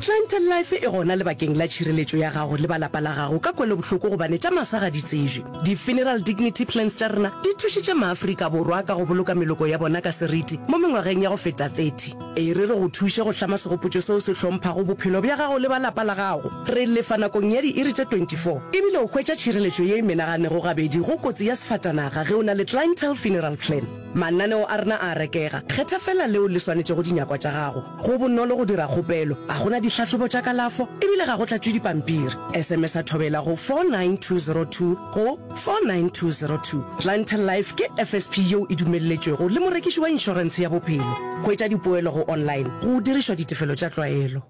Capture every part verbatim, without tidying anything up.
Clientele Life e gona lebakeng la tšhireletšo ya gago le ba lapa la gago ka kwelobohloko gobane tša masa ga di tsejwe. Di-funeral dignity plans tša rena di thušitše maAfrika Borwa ka go boloka meloko ya bona ka seriti mo mengwageng ya go feta thirty. E re re go thuše go hlama segopotšo seo se hlomphago bophelo bja gago le ba lapa la gago. Re lefa nakong ya diiri tše twenty four ebile o hwetša tšhireletšo ye e menaganego gabedi go kotsi ya sefatanaga ge o na le Clientele Funeral Plan. Mananeo a rena a a rekega, kgetha feela leo le swanetšego dinyakwa tša gago. Go bonolo go dira kgopelo, ga go na dihlahlobo tša kalafo ebile ga go tlatšwe dipampiri. S M S-a Thobela go four nine two zero two go four nine two zero two. Clientele Life ke F S P yeo e dumelletšwego le morekiši wa inšorentshe ya bophelo. Hwetša dipoelo go online go dirišwa ditefelo tša tlwaelo.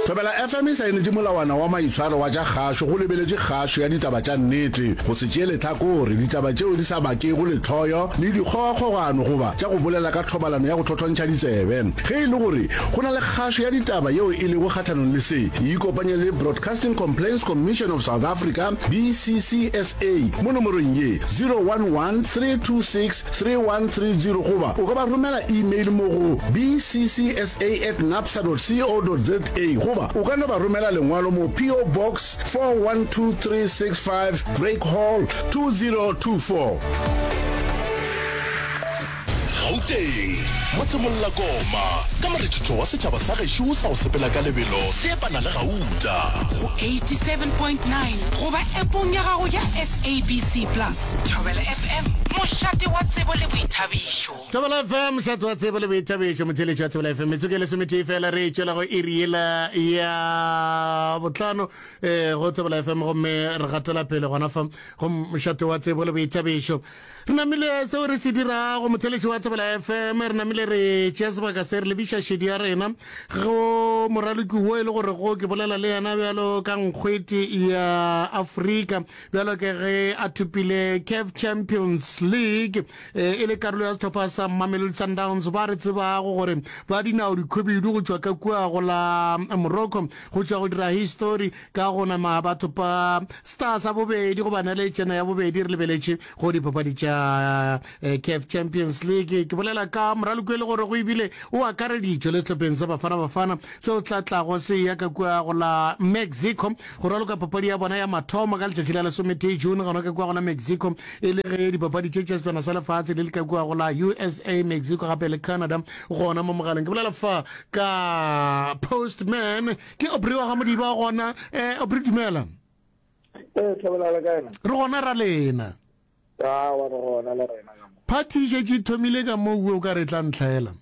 Thobela F M e saenetše molawana wa maitshwaro wa tša kgašo go lebeletše kgašo ya ditaba tša nnete, go se tšee lehlakore, ditaba tšeo di sa bakego lehloyo le dikgogakgogano goba tša go bolela ka thobalano ya go thothontšha ditsebe. Ge e le gore go na le kgašo ya ditaba yeo e lego kgahlanong le se, ikopanye le Broadcasting Complaints Commission of South Africa, B C C S A, mo nomorong ye zero one one, three two six, three one three zero goba o ka ba romela email mo go B C C S A at napsa dot co dot za goba o ka no ba romela lengwalo mo P O Box four one two three six five, Drake Hall, two zero two four. Gauteng, motsemollakoma ka morethetho wa setšhaba sa gešo sa go sepela ka lebelo se epana le gauta. Go eighty-seven point nine goba appong ya gago ya S A B C Plus. Thobela F M, mošate wa tsebo le boithabišo. Thobela F M, mošate wa tsebo le boithabišo. Motheletši wa Thobela F M, metsotso e lesometee fela re tšwela go iri yela ya botlhano um go Thobela F M, gomme re gatela pele gona fa go mošate wa tsebo le boithabišo. Re namile seo re se dirago, motheletši wa Thobela F M, re namile re tšea sebaka se re lebiša šedi ya rena go moraloki wo e le gore go ke bolela le yena bjalo ka nkgwete ya Afrika, bjalo ke ge a thopile CAF Champions League e le karolo ya sehlopha sa Mamelodi Sundowns, ba re tsebago gore ba dinao dikhubedu go tšwa ka kua go la Morocco, go tšwa go dira history ka go nama batho pa star sa bobedi goba naletšana ya bobedi re lebeletše go dipapadi tša CAF Champions League. Ke bolela ka moraloki e le gore go ebile o akareditšwe le sehlopheng sa Bafana Bafana seo tla tlago se ya ka kua go la Mexico go raloka papadi ya bona ya mathomo ka letšatši la lesometee June gona ka kua go la Mexico, e le ge dipapadi tše tša Setswana sa Lefatshe le le ka kua go la U S A, Mexico gape le Canada. Gona mo mogaleng ke bolela fa ka Postman, ke Aubrey wa ga Modiba gona. um Aubrey, dumela. Ee, Thobela, le kae na? Re gona, ra lena? Awa, re gona le rena ka mo. Party e šetše e thomile ka mo o ka re tla ntlhaela.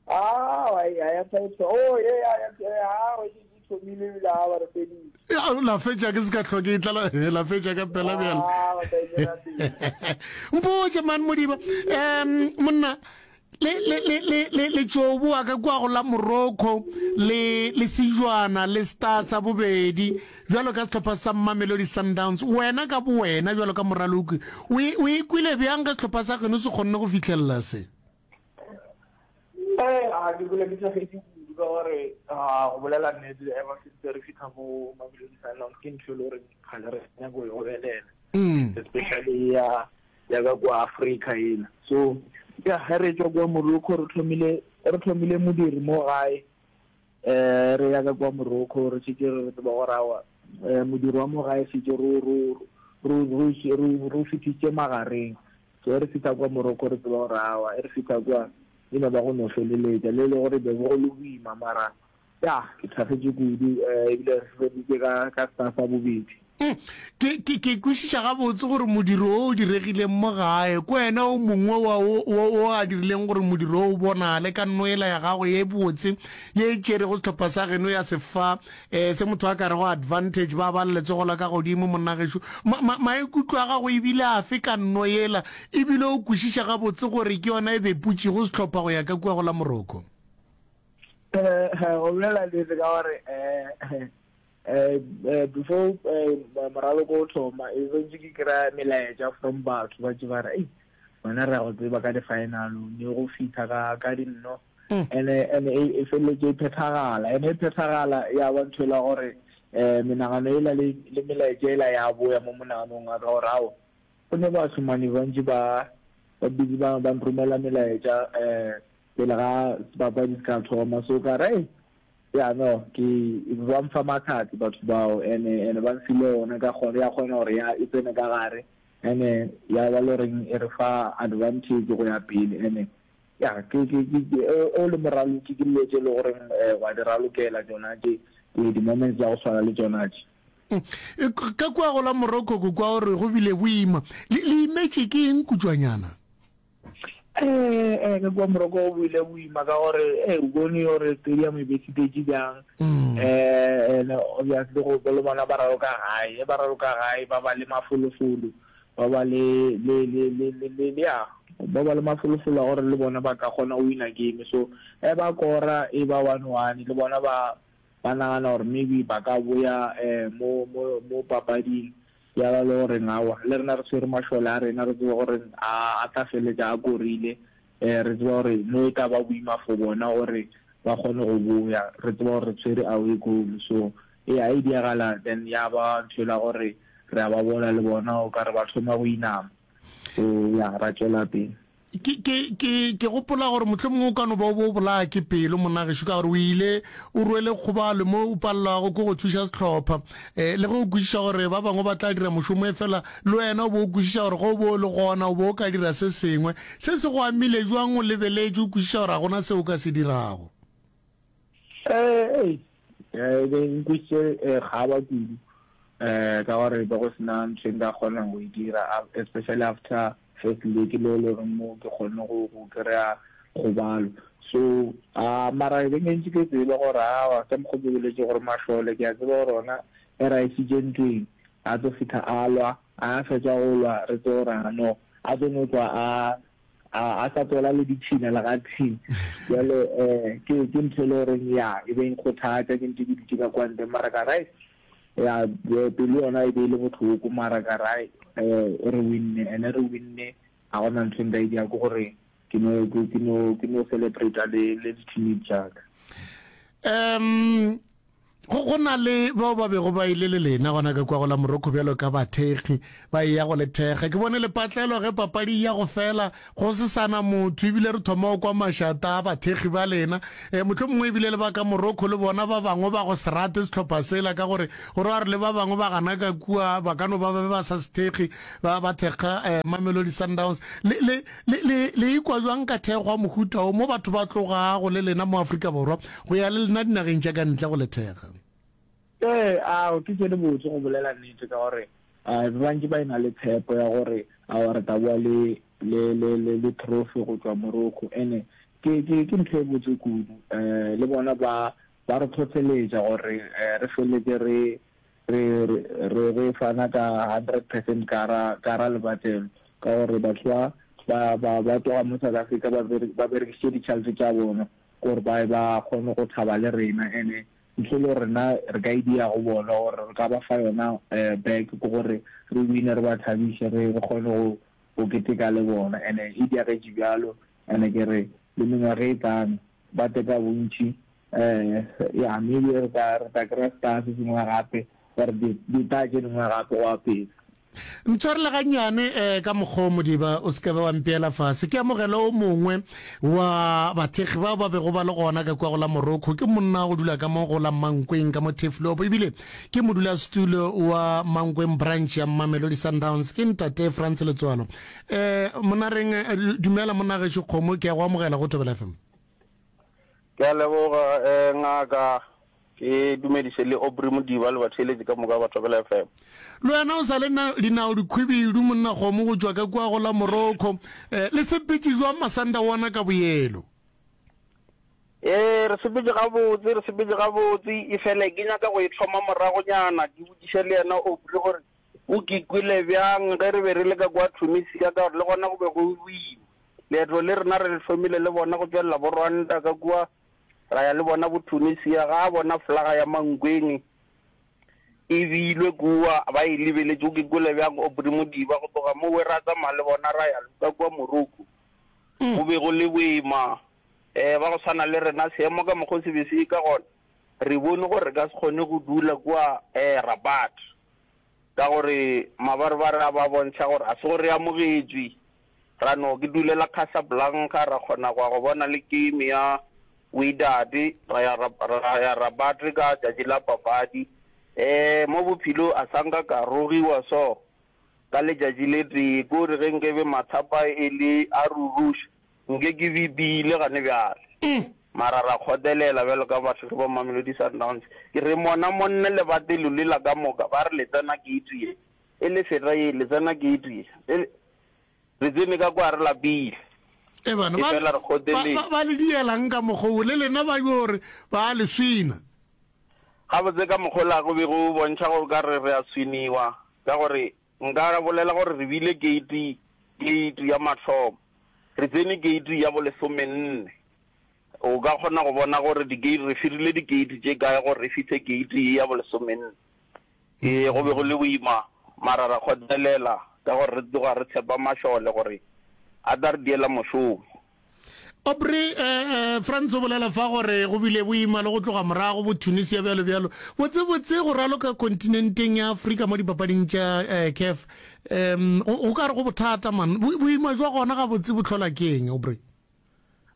Awa, ya ya thaetso. Oh, ye ya ya ya, e šetše e thomile ebile a ba re feditše. Ya, la fetša ke se ka hloke e tlala, la fetša ka pela bjalo. Ah, ba tla e tšwela pele. Mpotše man Modiba, um monna, le le le le le le tšo boa ka kua go la Morocco le le sejwana le star sa bobedi bjalo ka sehlopha sa Mamelodi Sundowns. Wena ka bo wena bjalo ka moraloki, o e o e kwile bjang ge sehlopha sa geno se kgonne go fihlelela se? Eh, a ke kule ke tšhagetse kudu ka gore a go bolela nnete, ever since re fitlha mo Mamelodi Sundowns, ke ntho e le gore ga re nyako e obelela, mm. especially ya ya ka kwa Africa ena. So ya ge re tswa kwa Morocco, re thomile re thomile modiri mo gae, eh re ya ka kwa Morocco, re šetše re tseba gore awa, eh modiri wa mo gae šetše ro ro ro ro ro ro fitlhitše magareng. So re fihla kwa Morocco, re tseba gore awa, e re fihla kwa e no ba go no feleletša le le gore be go le boima, mara ya ke thagetše kudu, um ebile re feditše ka ka star sa bobedi. Mm. ke ke ke kwešiša gabotse gore modiro o o diregileng mo gae ko wena o mongwe wa o o o a dirileng gore modiro o bonale ka nnoela ya gago ye botse ye e tšerego sehlopha sa geno ya sefa um se motho a ka rego advantage ba ba letsogo la ka godimo. Monna gešo, maikutlo a gago ebile afe ka nno yela, ebile o kwešiša gabotse gore ke yona e beputšego sehlopha go ya ka kua go la Morocco? Eh go bolela nnete, ka gore eh eh before moraloko o thoma, e santse ke kry-a melaetša from batho ba tse ba re, "Ei wena, re ya go tseba ka di-final ne go fitlha ka ka dinno." Ene ene e feleletse e phethagala, ene e phethagala ya ba ntho e la gore um menagano ela le le melaetša ela ya boya mo monaganong wa ka gore ao, go ne bašomane bantši ba ba busy ba ba nromela melaetša um pele ga sebapadi se ka thoma. So ka re Ya no, ke ba mfa mahlatse batho bao ene ene ba mfile ona ka kgona ya kgona gore ya e tsene ka gare ene ya ba le goreng e re fa advantage go ya pele ene ya ke ke ke o le moraloki ke dilo tse e le goreng wa di ralokela tsona tše di moments tsa go tshwana le tsona tše. Ka kua go la Morocco ko kwa gore go bile boima le le imetše ke eng kutšwanyana? Eh, eh, ka kua Morocco go bile boima ka gore eh o bone gore stadium e be se bjang. Eh and obviously go le bona ba raloka gae, ba raloka gae ba ba le mafolofolo, ba ba le le le le le ya ba ba le mafolofolo a gore le bona ba ka kgona go wina game. So e ba kora e ba one one le bona ba ba nagana gore maybe ba ka boya eh mo mo mo papading ya ba le gore aowa le rena re tshwere mašole a rena re tsebe gore a a tla feletša a korile eh re tseba gore no e tla ba boima for bona gore ba kgone go boya re tseba gore re tshwere away goal so e a e diagala then ya ba ntho la gore re a ba bona le bona o ka re ba thoma go inama so ya ra tšwela pele. Ke, ke, ke, ke gopola gore mohlomongwe o ka no ba o bo o bolaya ke pelo monna gešo ka gore o ile o rwele kgobalo mo o palelwago ke go thuša sehlopha. Um le ge o kwešiša gore ba bangwe ba tla dira mošomo efela le wena o bo o kwešiša gore ge o bo o le gona o bo o ka dira se sengwe. Se se go amile bjang o lebeletše o kwešiša gore ga gona seo o ka se dirago? Ee, e be nkwešiše gaba kudu um ka gore be go sena ntho e nka kgonang go e dira especially after first leg le le gore mo ke kgonne go go kry-a kgobalo so a mara be ke ntse ke tseba gore awa ka mokgwa ke boletse gore mašole ke a tseba gore ona e ra isitše ntweng a tlo fitlha a lwa a fetsa go lwa re tse gore ano a tlo no tswa a a sa tlola le ditšhila le ga tshing jalo um ke ke ntho e le goreng ya e be nkgothatsa ke ntse ke dutse ka kwa ntle mara ka right ya pelo yona e be e le botlhoko mara ka right um re winne ene re winne ga gona ntho e nka e dira ke gore ke no ke no ke no celebrate le le di-teammate jaaka um go go na le bao ba bego ba ile le lena gona ka kwa go la Morocco bjalo ka bathekgi ba e ya go le thekga ke bone lepatlelo ge papadi ya go fela go se sana motho ebile re thoma go kwa mašata a bathekgi ba lena um mohlomongwe ebile le ba ka Morocco le bona ba bangwe ba go se rate sehlopha sela ka gore gore ba re le ba bangwe ba gana ka kua ba ka no ba ba ba sa se thekgi ba ba thekga um Mamelodi Sundowns le le le le le ikwa jwang ka thekgo wa mohuta o mo batho ba tlogago le lena mo Afrika Borwa go ya le lena dinageng tša ka ntle go le thekga? Ee, ao ke tše di botse go bolela nnete ka gore ba bantši ba ena le tshepo ya gore ao re tla boa le le le le le trophy go tšwa Morocco ene ke ke ke ntho e botse kudu um le bona ba ba re tlhotlheletša gore re feleletse re re re re fana ka hundred percent ka ra ka ra lebatlelo ka gore batho ba ba ba ba tloga mo South Africa ba ba berekisitše ditšhelete tša bona gore ba ba kgone go thaba le rena ene ntho le rena re ka e dia go bona gore re ka ba fa yona back ke gore re wine re ba thabiše re re kgone go go keteka le bona ene e diagetše bjalo ene ke re le mengwaga e tlang ba teka bontši um ya maybe re tla re tla kry-a star se sengwe gape gore di-star tše dingwe gape go ya pele. Ntshwarele gannyane um ka mokgwa o Modiba o se ke be wa mpeela fase. Ke amogele o mongwe wa bathekgi bao ba bego ba le gona ka kua go la Morocco. Ke monna wa go dula ka mo go la Mankweng ka mo Turfloop ebile ke modulasetulo wa Mankweng branch ya Mamelodi Sundowns. Ke ntate Frans Letsoalo. Um monareng dumela monna gešo Kgomo, ke a go amogela go Thobela F M. Ke a leboga um ngaka. Ke dumediše le Aubrey Modiba le batheeletši ka moka ba Thobela F M. Le wena o sa le dinao dikhwibidu monna kgomo go tšwa ka kua go la Morocco. Eh, le sepetše jwang masanda wona ka boyelo? Ee, re sepetše gabotse, re sepetše gabotse. E fele ke nyaka go e thoma moragonyana ke botšiše le yena Aubrey gore o ke kwele bjang ge re be re le ka kua Tunisia ka gore le gona go be go boima. Leeto le rena re le thomile le bona go tšwelela bo Rwanda ka kua ra ya le bona bo Tunisia ga bona flaga ya Mankweng e beilwe kua ba e lebeletše o ke kwele bjang Aubrey Modiba go tloga mo we ra tsamaya le bona ra ya ka kua Morocco go be go le boima um ba go tshwana le rena seemo ka mokgwa se be se ka gona re bone gore re ka se kgone go dula kua um Rabat ka gore mabarebare a ba bontšha gore a se gore re amogetšwe ra no ke dulela Casablanca ra kgona go ya go bona le game ya Wydad ra ya ra ya Rabat ka tšatši la papadi. Eh mo bophelo a sa nka ka rogiwa so ka letšatši le tee, ko re ge nkebe mathapa e le a ruruša nke ke bipile gane bjale. Mara ra kgotelela bjalo ka batho re ba Mamelodi Sundowns. Ke re mona monne lebatelo lela ka moka ba re le tsena gate ye, e le feta ye, le tsena gate ye, e re tsene ka kwa re lapile. E bana, E ba, fela re ba, ba, kgoteletše. ba le dielang ka mokgwa wo, le lena ba yo re ba le swina. Gabotse ka mokgwa ola go be go bontšha go ka re re a swiniwa, ka gore nka bolela gore re bile gate, gate ya mathomo, re tsene gate ya bolesomenne. O ka kgona go bona gore di-gate, re firile di-gate tše kae gore re fihle gate ye ya bolesomenne. Ee, go be go le boima, mara ra kgotlelela ka gore re tloga re tshepa mašole gore a tla re diela mošomo. Aubrey, eh, eh, Frans o bolela fa gore go bile boima le go tloga morago bo Tunisia bjalo bjalo. Botse botse go raloka kontinenteng ya Afrika mo dipapading tša eh, CAF um go go ka re go bothata man. Bo- Boima jwa gona gabotse bo hlola ke eng, Aubrey?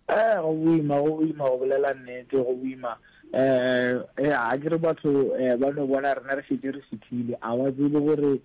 Eh, go boima, go boima go bolela nnete, go boima. Eh, eh, a ke re batho eh, ba no bona rena re šetše re fihlile, a ba tsebe gore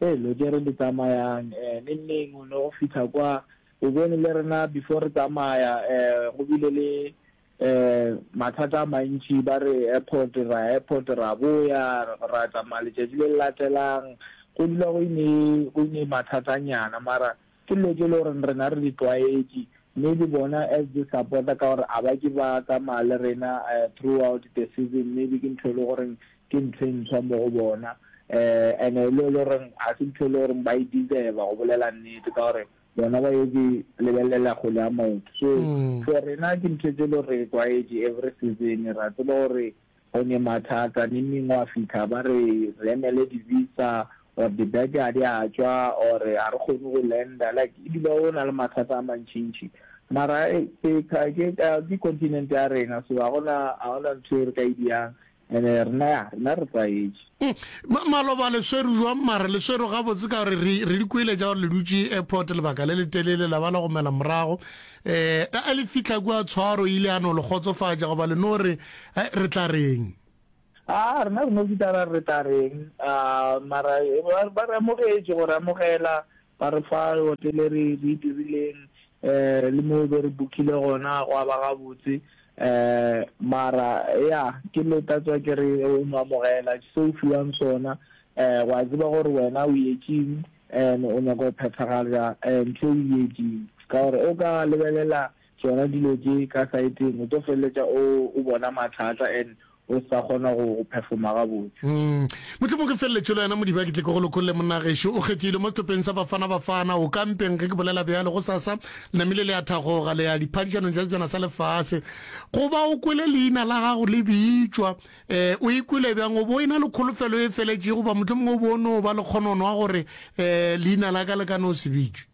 eh lo tše re di tsamayang eh neng neng o no go fihla kwa o bone le rena before re tsamaya eh go bile le eh mathata a mantši ba re airport ra airport ra boya ra tsamaya letšatši le le latelang go dula go ine go ine mathatanyana mara ke dilo tše le gore rena re di tlwaetše maybe bona as di supporter ka gore a ba ke ba tsamaya le rena uh, throughout the season maybe ke ntho e le goreng ke ntho e ntshwa mo go bona eh and e le goreng ga se ntho e le goreng ba e deserve go bolela nnete ka gore bona ba ye lebelela kgwele ya maoto so Mm. for rena ke ntho tse le gore re tlwaetše every season ra tseba gore go ne mathata neng neng wa fitlha ba re re emele di-visa or dibeke ga di a tšwa or ga re kgone go landa like e dula o na le mathata a mantšintši mara eh, ke ke ke continent ya rena so ga gona ga gona ntho e re ka e diang and rena ya rena re tlwaetše Mm. Ma- maloba le swere jwang mara le swere gabotse ka gore re re di kwele tša gore le dutše airport lebaka le letelele la ba la gomela morago um a le fitlha kua tshwaro ile a no le kgotsofatša goba le no re eh, re tla reng a rena re no fihla ra re tla reng a mara eh, ba ba re amogetše go re amogela ba re fa hotele re re e dirileng eh le mo be re bookile gona go ba gabotse eh mara ya ke lo tla ke re o no amogela se o fiwang sona eh wa tseba gore wena o yetšeng and o nyaka go phethagatša eh, ntho e o yetšeng ka gore o ka lebelela tsona dilo tše ka saeteng o tlo feleletša o o bona mathata and o sa kgona go go performa gabotse Mm. mohlomong ke feleletše le wena modiba ke tle ke go lokolle monna gešo o kgethile mo sehlopheng sa bafana bafana o kampeng ge ke bolela bjalo go sasa le namile le ya thagoga le ya diphadišanong tša sejana sa lefase go ba o kwele leina la gago le bitšwa um o ikwele bjang o bo e na le kholofelo e feletšego goba mohlomongwe o bo o no ba le kgonono wa gore um leina la ka le ka no se bitšwe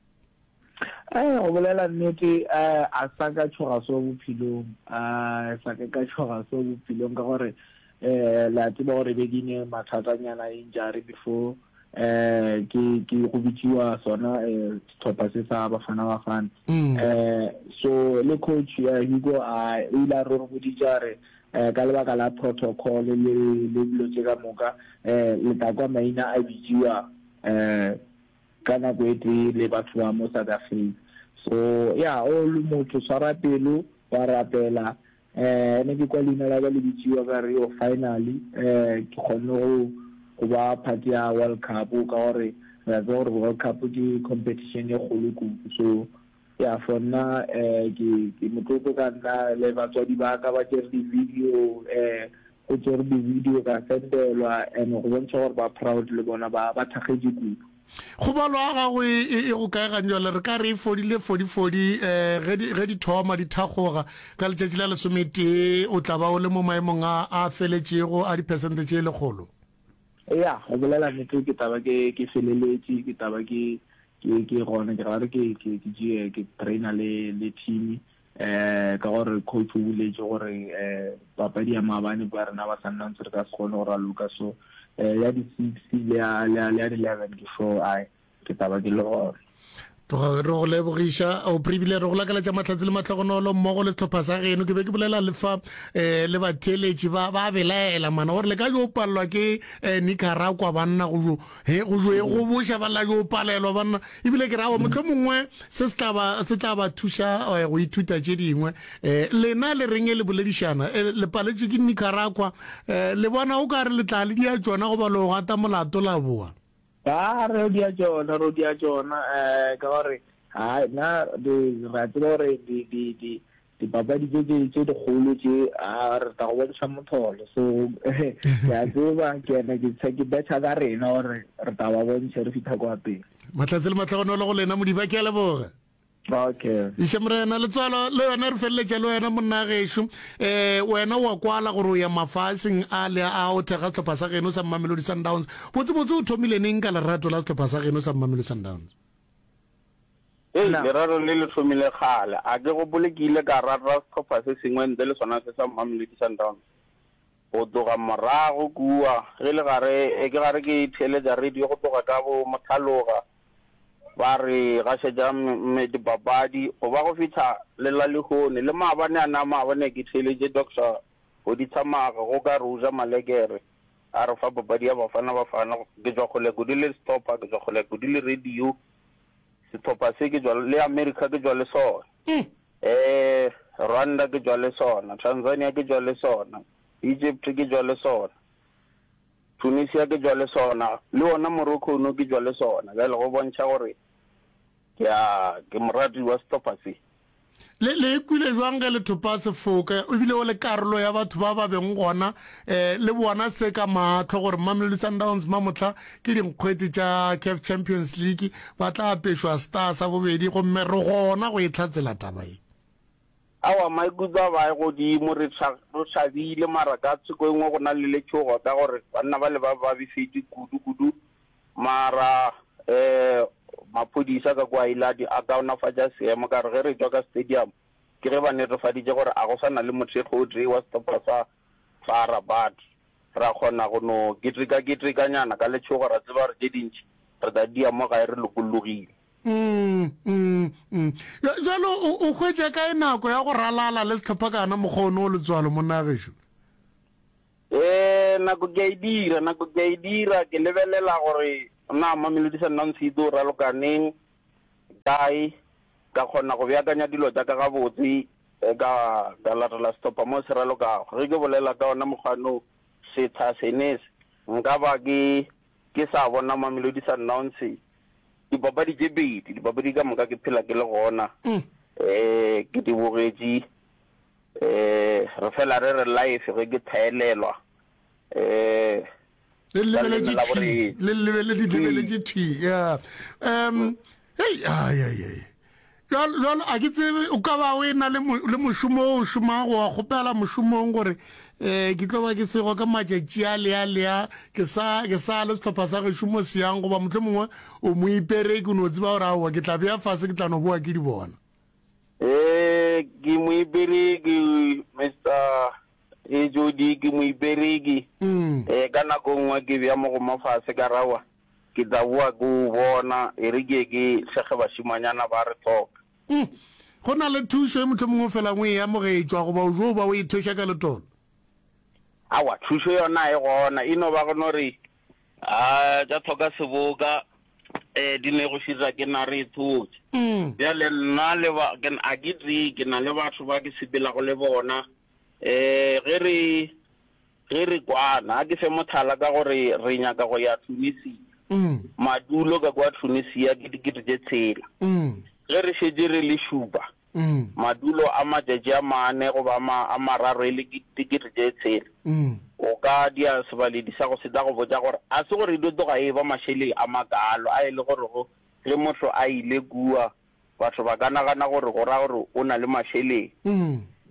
Eh go bolela nnete eh a sa ka tshoga so bophelong a sa ka ka tshoga so bophelong ka gore eh la tseba gore be ke ne mathatanyana injury before eh ke ke go bitsiwa sona eh sehlopha se sa bafana bafana Mm. eh so le coach eh, Hugo a o ile a re re boditše re eh ka lebaka la protocol le le dilo tše ka moka eh le tla kwa maina a bitsiwa eh ka nako e tee le batho ba mo South Africa so ya o le motho tshwara pelo wa rapela eh ne ke kwa leina la ka le bitsiwa ka re yo finally eh ke kgonne go go ba part ya World Cup ka gore re a tseba gore World Cup ke competition e kgolo kudu so ya for nna eh ke ke motlotlo ka nna le batswadi ba ka ba tšere di-video eh go tšere di-video ka sendelwa and go bontšha gore ba proud le bona ba ba thakgetše kudu kgobalo ya gago e e- e go kae ganjale re ka re e fodile fodifodi um ge di- ge di thoma di thakgoga ka letšatši la lesometee o tla ba o le mo maemong a a feletšego a dipersente tše lekgolo ya go bolela nnete ke taba ke ke feleletše ke taba ke ke ke gona ke gare ke ke ke tšee ke trainer le le team eh ka gore coach o boletše gore eh papadi ya maabane ba rena ba Sundowns re ka se kgone go raloka so eh ya di six le ya le ya le ya di eleven ke sure ai ke taba ke le gona Tloga re go lebogiša Aubrey ebile re go lakaletša mahlatse le mahlogonolo mmogo le sehlopha sa geno. Ke be ke bolela le fa um le batheeletši ba ba belaela mana gore le ka jo palelwa ke um Nicaragua banna go jo he go jo e goboša ba la jo palelwa banna ebile ke re aowa mohlomongwe se se tla ba se tla ba thuša eh, go ithuta tše dingwe. Um lena le reng e le boledišana eh, le paletšwe ke Nicaragua um le bona o ka re le tla le dia tšona goba le go gata molato la boa? Ba re o dia tšona, re o dia tšona, um ka gore hai nna di re a tseba gore di di di dipapadi tše tše tše dikgolo tše a re tla go bontšha motholo. So ke a tseba ke ene ke tshe ke betšha ka rena gore re tla ba bontšha re fihla kwa pele. Mahlatse le mahlogonolo go lena Modiba, ke a leboga. Okay. Iša Morena letswalo le yona re feleletša le wena monna gešo. Eh wena wa kwala gore o ya mafaseng a le a o thekga sehlopha sa geno sa Mamelodi Sundowns. Botse botse o thomile neng ka lerato la sehlopha sa geno sa Mamelodi Sundowns? Hei, lerato le le thomile kgale. A ke gopole ke ile ka rata sehlopha se sengwe ntle le sona se sa Mamelodi Sundowns. Go tloga morago kua ge le gare ke gare ke theeletša radio go tloga ka bo Mothaloga Ba re gašetša dipapadi go ba go fihla le la lehono. Le maabane a na maabane ke theeletše Doctor Goditshamaga go ka re o ja malekere a re fa papadi ya Bafana Bafana. Ke tšwa kgole kudu le sehlopha, ke tšwa kgole kudu le radio. Sehlopha se ke tšwa le America ke tšwa le sona. Eh Rwanda ke tšwa le sona, Tanzania ke tšwa le sona, Egypt ke tšwa le sona. Tunisia ke tšwa le sona, le wona Morocco no ke tšwa le sona. Bjale go bontšha gore ke a ke morati wa sehlopha se. Le, le ikwile jwang ge le thopa sefoka ebile o le karolo ya batho ba ba beng gona eh, le bona se ka mahlo gore Mamelodi Sundowns mamohla ke dinkgwete tša CAF Champions League ba tla apešwa star sa bobedi gomme re gona go e hlatsela taba ye? Aowa, maikutlo a ba godimo, re re thabile, mara ka thoko e nngwe go na le letšhogo ka gore banna bale ba ba befetše kudu kudu, mara um maphodisa ka kua Iladi a kaonafatša seemo ka gore ge re tšwa ka stadium ke ge ba netefaditše gore a go sa na le mothekgo o tee wa sehlopha sa FAR Rabat, ra kgona go no keteka-ketekanyana ka letšhogo ra tseba gore tše dintši re tla dia mo gae re lokollogile. Mm, mm, mm. Jalo o, o hwetša kae nako ya go ralala le sehlopha ka gana mokgwa ono o letswalo monna gešo? Ee, nako ke a e dira, nako ke a e dira, ke lebelela gore na Mamelodi Sundowns e tlo raloka neng, kae, ka kgona go beakanya dilo tša ka gabotse, ka, ka latela sehlopha mo se ralokago. Ge ke bolela ka ona mokgwa no, setsha sene se, nka ba ke, ke sa bona Mamelodi Sundowns Dipapadi tše pedi, dipapadi ka moka ke phela ke le gona, um ke di bogetše. Um re fela re re life ge ke thaelelwa um Le lebeletše thwi, le lebele di lebeletše thwi, ya. Um hei, ai ai ai. Bjalo, bjalo a ke tsebe o ka ba o e na le, le mošomo o o šomago, wa kgopela mošomong gore um ke tlo ba ke sego ka matšatši a le a le a, ke sa, ke sa le sehlopha sa gešo mo se yang, goba mohlomongwe o moipereki, o no tseba gore aowa ke tla bea fase ke tla no boa ke di bona. Ee, ke moipereki, Mister H O D, ke moipereki. Ee, ka nako nngwe ke bea mogoma fase ka re aowa Ke tla boa ke o bona, e re ke ye ke hlege bašemanyana ba re hloka. Mm. Go na le thušo e mohlomongwe o felang o e amogetšwa goba o jo ba o e thweša ka letolo? Aowa, thušo yona e gona, e no ba go no re, A tša tlhoka seboka, eh, di ne go šira ke na re e thotše. Mm. Bjale nna le ba, ke, a ke tee, ke na le batho ba ke sepelago le bona, eh, ge re, Ge re kwana, a ke fe mohlala ka gore re nyaka go ya Tunisia. Madulo ka kua Tunisia ke dikete tše tshela. Ge re šetše re le šupa, madulo a matšatši a mane goba a mararo e le dikete tše tshela. O ka dia sebaledi sa go se tla go botša gore a se gore e dio tloga e eba mašeleng a makalo a e le gorego ge motho a ile kua Batho ba ka nagana gore go ra gore o na le mašeleng.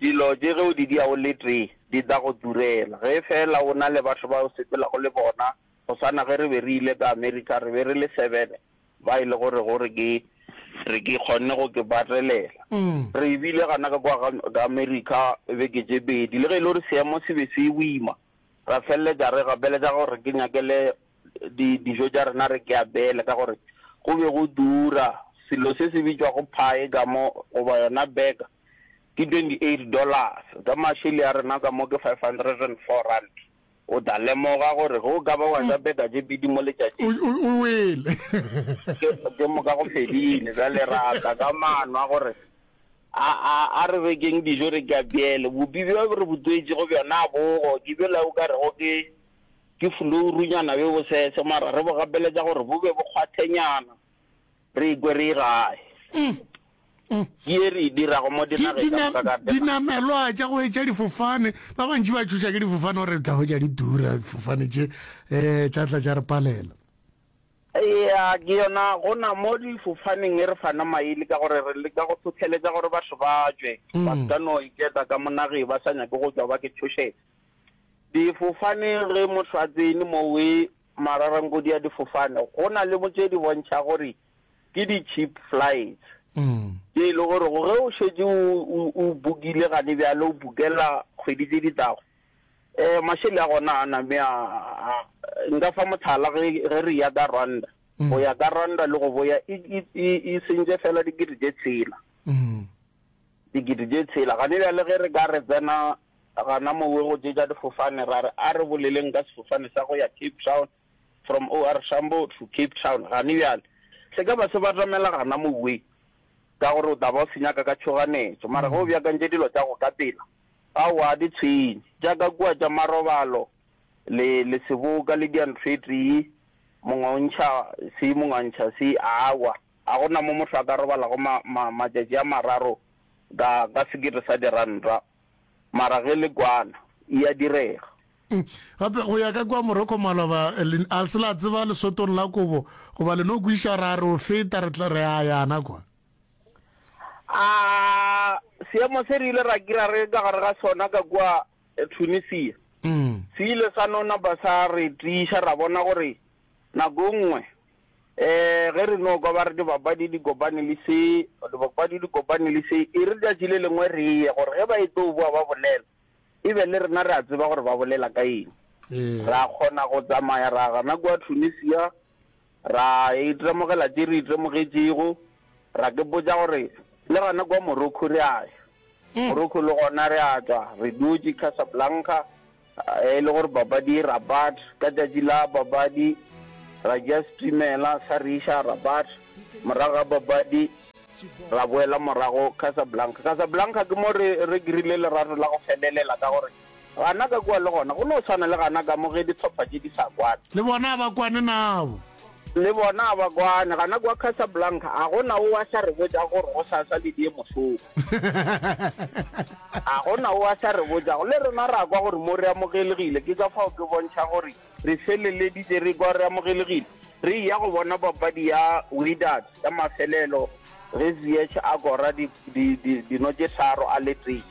Dilo tše ge o di dia o le tee, di tla go turela. Ge feela o na le batho ba o sepelago le bona, go swana ge re be re ile ka Amerika, re be re le seven ba e le gore gore ke re ke kgonne go ke patelela. Re bile gana ka kwa ka Amerika beke tše pedi, le ge e le gore seemo se be se boima, ra feleletša re gapeletša gore ke nyakele di, dijo tša rena re ke abele ka gore go be go dura selo se se bitšwago pie ka mo goba yona burger ke twenty-eight dollars, ka mašele a rena ka mo ke five hundred and four rand. O tla lemoga gore ge o ka ba wa ja burger tše pedi mo letšatšing, O, o, o wele. ke, ke moka go fedile. Bjale ra tla ka maano a gore a, a, a re rekeng dijo re ka bjele. Bupi bjo re bo tswetšego bjona bogo, ke bjola o ka rego ke, ke flourunyana bjo bosese, mara re bo gapeletša gore bo be bo kgwathenyana, re ikwe re gae. Ke ye re e dirago mo dinageng ka moka ka dinaga. Dinamelwa tša go etša difofane, ba bantši ba tšhoša ke difofane gore re tla hwetša di tura difofane tše, um tša tla tša re palela. Eya, ke yona go na mo difofaneng e re fana maele ka gore re leka go hlohleletša gore batho ba tšwe, ba se ka no iketa ka mo nageng ba sa nyake go tšwa ba ke tšhošetša. Difofane ge motho a tsene mowe mararankodi a difofane, go na le mo tše di bontšha gore ke di cheap flights tše e le gore ge o šetše o, o bookile gane bjale o bookela kgwedi tše di tlago, um mašele a gona a name a, a, nka fa mohlala ge, ge re ya ka Rwanda, go ya ka Rwanda le go boya e, e, e, e sentše fela dikete tše tshela. Dikete tše tshela. Gane bjale ge re ka re tsena gana mowe go tše tša difofane ra re a re boleleng ka sefofane sa go ya Cape Town, from O R Tambo to Cape Town, gane bjale se ka ba se batamela gana mowe ka gore o tla ba o se nyaka ka tšhoganetšo. Mara ge o beakantše dilo tša go ka pela, aowa di tshwenye. Tša ka kua tša marobalo le, le seboka le diantlo e tee, mongwe o ntšha se, mongwe a ntšha se, aowa a gona mo motho a ka robalago ma, ma, matšatši a mararo ka, ka sekete sa diranta. Mara ge le kwana, e a direga. Gape go ya ka kua Morocco maloba, le, a se la tseba lesotong la kobo, goba le no kwešiša ra re o feta re tla re a yana kwa. A seemo se re ile ra kira re ka gare ga sona ka kua Tunisia, se ile sa no napa sa re tiiša ra bona gore nako nngwe um ge re no kwa ba re dibapadi di kopane le se, dibapadi di kopane le se, e re tšatši le lengwe re ye gore ge ba e tlo boa ba bolela, e be le rena re a tseba gore ba bolela ka eng. Ra kgona go tsamaya ra gana kua Tunisia, ra itemogela tše re itemogetšego, ra ke botša gore le gana kua Morocco re a ya. Morocco le gona re a tšwa, re dutše Casablanca, e le gore papadi e Rabat, ka tšatši la papadi ra tšea setimela sa re iša Rabat, morago ga papadi ra boela morago Casablanca. Casablanca ke mo re re krile lerato la go felelela ka gore gana ka kua le gona go no tshwana le gana ka mo ge dihlopha tše di sa kwane. Le bona ba kwane nabo. Le bona ba kwane gana kua Casablanca a gona o a sa re botša gore go sasa le die mošomo. A gona o a sa re botšago, le rena ra kwa gore mo re amogelegile. Ke ka fao ke bontšha gore re feleleditše re kwa re amogelegile. Re ya go bona papadi ya Wydad ya mafelelo ge Ziyech a kora di, di, di, dino tše tharo a le tee.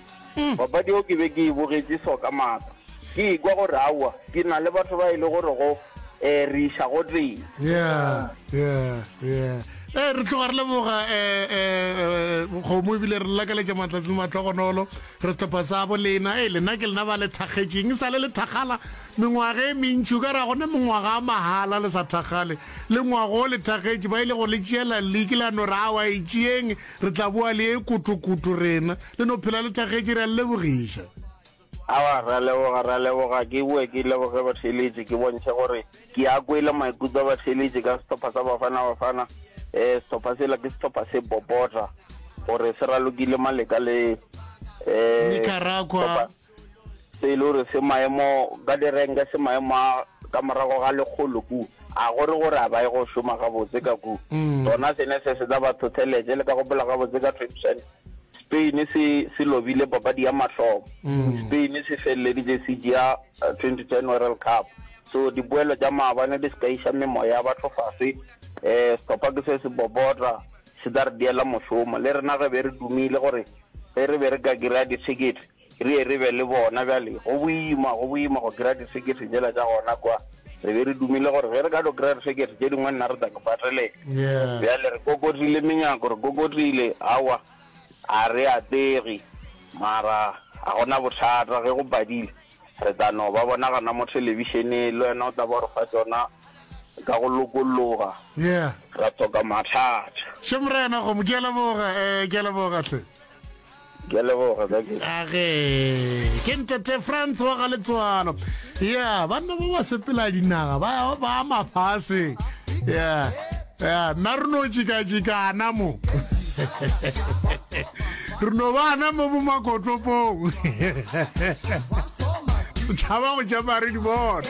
Papadi eo ke be ke e bogetše so ka maatla. Ke ikwa gore aowa, ke na le batho ba e le gore go eh, re iša go tee. Yeah, yeah, yeah. Eh, re tloga re leboga eh, eh, kgomo ebile re lakaletša matlatsi le matlhogonolo re sehlopha sa bo lena. E lena ke lena ba le thakgetšeng, e sa le le thakgala mengwaga e mentši, o ka re a gona mengwaga a mahala le sa thakgale. Le ngwago o le thakgetše, ba ile go le tšeela league la no re aowa e tšeeng, re tla boa le e kotokoto rena. Le no phela le thakgetše, re a le lebogiša. Aowa, re a leboga, re a leboga. Ke boe ke leboge batheeletši, ke bontšhe gore ke a kwele maikutlo a batheeletši ka sehlopha sa Bafana Bafana. Eh, sehlopha sela ke sehlopha se popota gore se ralokile Maleka le eh, Nicaragua. Se e le gore se maemo ka direnke, se maemo a ka morago ga lekgolo ku, a gore gore a ba ye go šoma gabotse ka ku. Sona sene se se tla ba tlhotlheletše. Le ka gopola gabotse ka twenty ten Spain se se lobile papadi ya mahlomo. Spain se feleleditše se tšea twenty ten World Cup. So dipoelo tša maabane di se ka iša memoya ya batho fase. Eh, sehlopha ke se se popota, se tla re diela mošomo. Le rena ge be re dumile gore ge re be re ka kry-a di-ticket re ye re be le bona. Bjale go boima, go boima go kry-a di-ticket tšela tša gona kwa. Re be re dumile gore ge re ka no kry-a di-ticket tše dingwe nna re tla ke patelela. Bjale re kokotile menyako, re kokotile, aowa a re atlege, mara ga gona bothata ge go padile re tla no ba bona gona mo thelebišeneng, le wena o tla ba o re fa tšona ka go lokologa, Yeah. ra hloka mathata. Še morena gomo, ke a leboga, eh, ke a leboga hle. Ke a leboga ka ke. Age, ke ntate Frans wa ga Letswalo. Ya, banna ba ba sepela dinaga, ba ba mafase. Ya. Ya, nna re no tšikatšikana mo. Re no bana mo bo makotopong. Tšhaba go tšama re di bona.